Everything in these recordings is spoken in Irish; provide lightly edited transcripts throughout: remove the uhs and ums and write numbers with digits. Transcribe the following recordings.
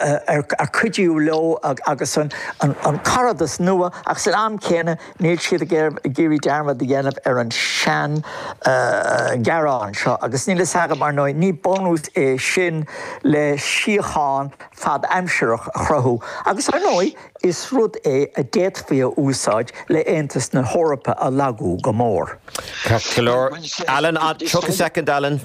Ar cuidiú leo agus an caradas nua ach san am céanna níl siad ag iarraidh dearmad a dhéanamh ar an sean ghearán seo agus níl fhios agam ar ndóigh ní bunús é sin le síocháin fad-aimsireach a chruthú agus ar ndóigh is rud é a d'fhéadfaí a úsáid le Aontas na hEorpa a lagú go mór. Ceart go leor. Alan, 30 soicind Alan.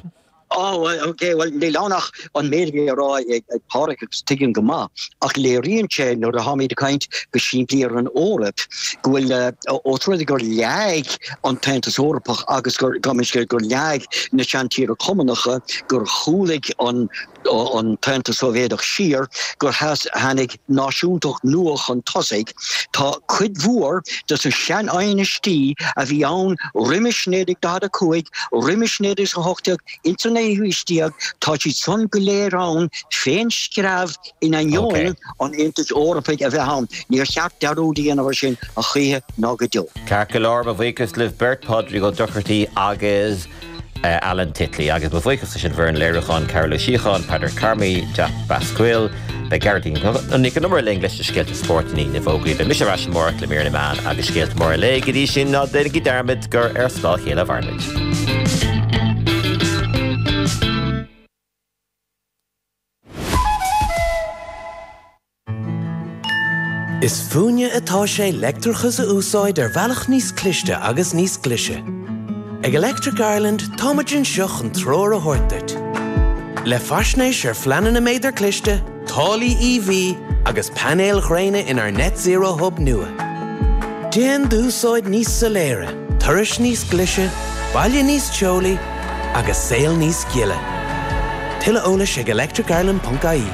Ó, ok, bhuel, níl ann ach an méid a bhí á rá ag Pádraig agus tuigim go maith, ach léiríonn sé nuair atáimid ag caint go simplí ar an Eoraip go bhfuil, ós rud é gur leáigh an tAontas Eorpach agus gur, gabh mo leithscéal, gur leáigh na seantíortha Cumannacha, gur chúlaigh an an tAontas Sóivéadach siar, gur tháinig náisiúntacht nua chun tosaigh. Tá cuid mhór de na seanaighneastaí a bhí ann roimis 1945, roimis 1918, ins an naoú haois déag, tá siad san go léir ann fén screamh in ainneoin an Aontais Eorpaigh a bheith ann. Níor cheart dearúd a dhéanamh ar sin a choíche ná go deo. Ceart go leor, mo bhuíochas libh beirt, Pádraig Ó Dochartaigh agus. Alan Titley, Agus mo bhuíochas leis an bhfoireann léiriúcháin, Carol Ó Síocháin, Peadar Carmody, Jack Basquill. Beidh Gearóidín Nic an Iomaire linn leis na scéalta spóirt i ndiaidh na bhfógraí. Beidh mise ar ais amárach le mír na meán agus scéalta móra an lae. Go dtí sin, ná déanaigí dearmad gur ar scáth a chéile a mhaireann muid. Is fúinne atá sé leictreachas a úsáid ar bhealach níos cliste agus níos glaise. Ag Electric Ireland táimid anseo chun treoir a thabhairt duit. Le faisnéis ar phleananna méadar cliste, táillí EV agus painéil ghréine inár Net Zero Hub nua. Déan d'úsáid níos soiléire, turais níos glaise, baile níos teolaí agus saol níos gile. Tuilleadh eolais ag electricireland.ie.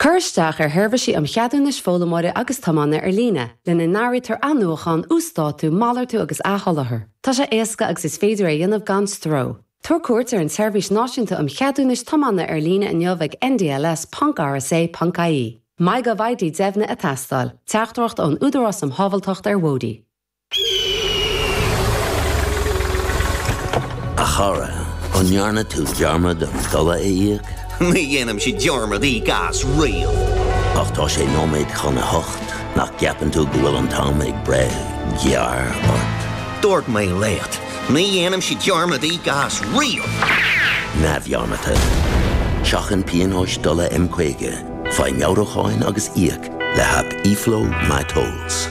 Cuir isteach ar sheirbhísí um cheadúnais foghlaimeora agus tiomána ar líne, lena n-áirítear athnuachan, uasdátú, malartú agus athsholáthar. Tá sé éasca agus is féidir é a dhéanamh gan stró. Tabhair cuairt ar an tSeirbhís Náisiúnta um Cheadúnais Tiomána ar líne inniu ag ndls.rsa.ie. MyGovID deimhnithe ag teastáil. Teachtaireacht ón Údarás um Shábháilteacht ar Bhóithre. A chara, an ndearna tú dearmad an dola a íoc? Ní dhéanaimse dearmad íoc as riamh. Ach tá sé nóiméad chun a hocht, nach gceapann tú go bhfuil an t-am ag breith gearr ort? Dúirt mé leat, ní dhéanaimse dearmad íoc as riamh! Neamhdhearmadta. Seachain pionóis dola M50, faigh meabhrúcháin agus íoc le haip eFlow MyTolls.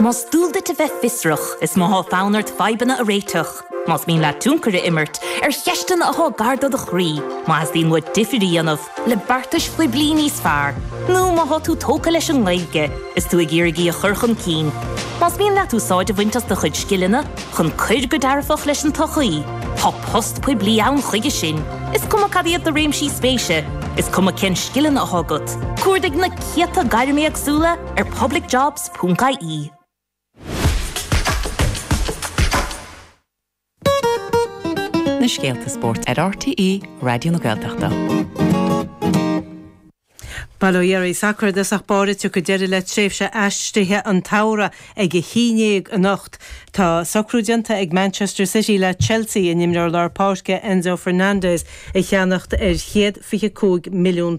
Más dual duit a bheith fiosrach, is má thá fonn ort fadhbanna a réiteach, más mian leat tionchar a imirt ar cheisteanna athá gar do do chroí, má theastaíonn uait difir a dhéanamh le beartais phoiblí níos fearr, nó má thá tú tógtha leis an nGaeilge is tú ag iarraidh í a chur chun cinn, más mian leat úsáid a bhaint as do chuid scileanna chun cuir go dearfach leis an tsochaí, tá post poiblí ann chuige sin. Is cuma cad iad do réimsí spéise, is cuma cén scileanna athá agat, cuardaigh na céadta gairm éagsúla ar publicjobs.ie. Na scéalta spóirt ar RTÉ Raidió na Gaeltachta. Bail ó Dhia oraibh. Sacar i dtosach báire, tiocfaidh deireadh le tréimhse aistrithe an tsamhraidh ag a haon dhéag anocht. Tá socrú déanta ag Manchester City le Chelsea a n-imreoir lár páirce Enzo Fernandez a cheannacht ar £125 milliún,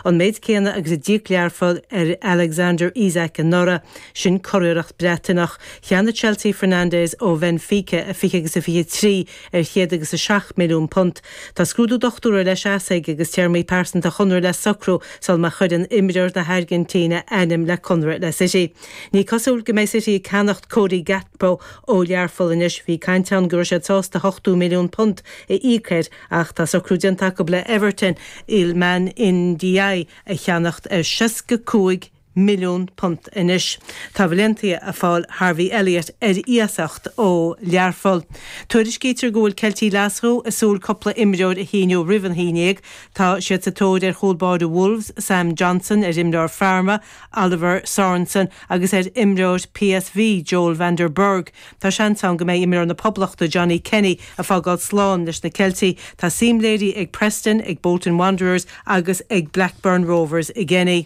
an méid céanna agus a d'íoc Learpholl ar Alexander Isak anuraidh. Sin curiarracht Breataineach. Cheannaigh Chelsea Fernandez ó Bhenfica i 20 agus a 23 ar £107 milliún. Tá scrúdú dochtúra le seasamh agus téarmaí pearsanta chonradh le socrú sul má chuireann imreoir na hAirgintíne ainm le conradh le City. Ní cosúil go mbeidh City ag ceannacht Cody Gakpo ó Learpholl anois. Bhí caint ann go raibh siad sásta £80 milliún a íoc air ach tá socrú déanta acu le Everton Iliman Ndiaye a cheannacht ar £65 milliún anois. Tá Valencia ag fáil Harvey Elliott ar iasacht ó Learpholl. Tuairiscítear go bhfuil Ceiltigh Ghlaschú ag súil cúpla imreoir a shíniú roimh an haon dhéag. Tá siad sa tóir ar chúl báire Wolves, Sam Johnstone, ar imreoir Pharma, Oliver Sorensen agus ar imreoir PSV, Joel van der Berg. Tá seans ann go mbeidh imreoir na Poblachta, Johnny Kenny, ag fágáil slán leis na Ceiltigh. Tá suim léirithe ag Preston, ag Bolton Wanderers agus ag Blackburn Rovers i gKenny.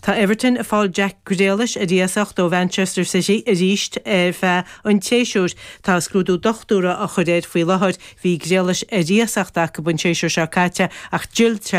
Tá Everton ag fáil Jack Grealish ar iasacht ó Mhanchester City arís ar feadh an tséasúir. Tá scrúdú dochtúra á chur air faoi láthair. Bhí Grealish ar iasacht acu an séasúr seo caite ach d'fhill.